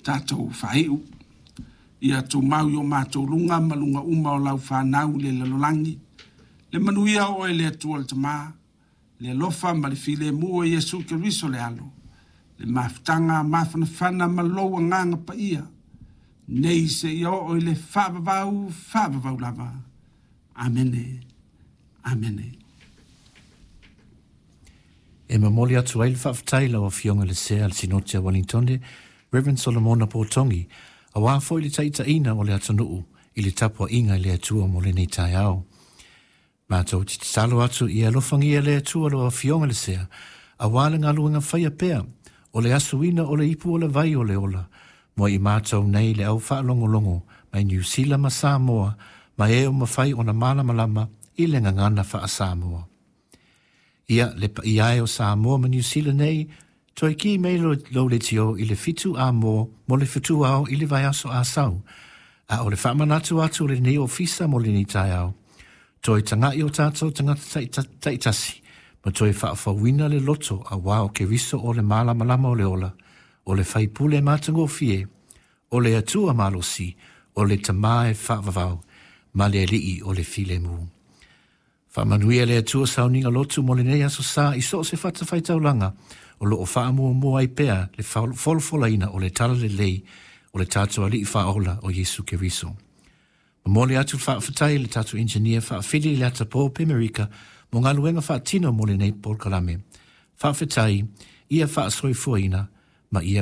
tatou faaiu. Ia tumau i o matou luga ma luga uma o lau fanau i le lalolagi. Le manuia o oe le Atua le Tama, le alofa ma le filemu o Iesu Keriso le Alo, le mafutaga mafanafana ma lou agaga paia, nei seia oo i le faavavau, faavavau lava. Amene. Amene. E momoli atu ai le faafetai i lau Afioga i le Sea a le Sinoti a Uelintone, Rev. Solomona Potongi, aua foi le taitaiina o le atunuu i le tapuaiga i le Atua mo lenei taeao. Matou te tatalo atu ia alofagia le Atua lau Afioga i le Sea, aua le galuega faia pea o le asuina o le ipu o le vai o le ola, mo i matou nei le au faalogologo mai Niu Sila ma Samoa ma e o mafai ona malamalama i le gagana faa-Samoa. Ia, le paia e o Samoa ma Niu Sila nei, toe ki mai lou leitio i le 7 a-mo mo le fetuao i le vaiaso Asau, a o le faamanatu atu o lenei ofisa mo lenei taeao, toe taga'i o tatou tagata taitasi ma toe faafouina le loto auā o Keriso o le malamalama o le ola, o le faipule matagofie, o le Atua malosi, o le Tama e faavavau, ma le Alii o le filemu. Faamanuia le Atua sauniga lotu mo lenei aso Sa i so o se fatafaitaulaga o lo o faamuamua ai pea le folafolaina o le Talalelei o le tatou Alii Faaola o Iesu Keriso. Momoli atu le faafetai i le tatou Engineer faafili i le atapō Pemerika mo galuega faatino mo lenei polokalame. Faafetai, ia faasoifuaina ma ia.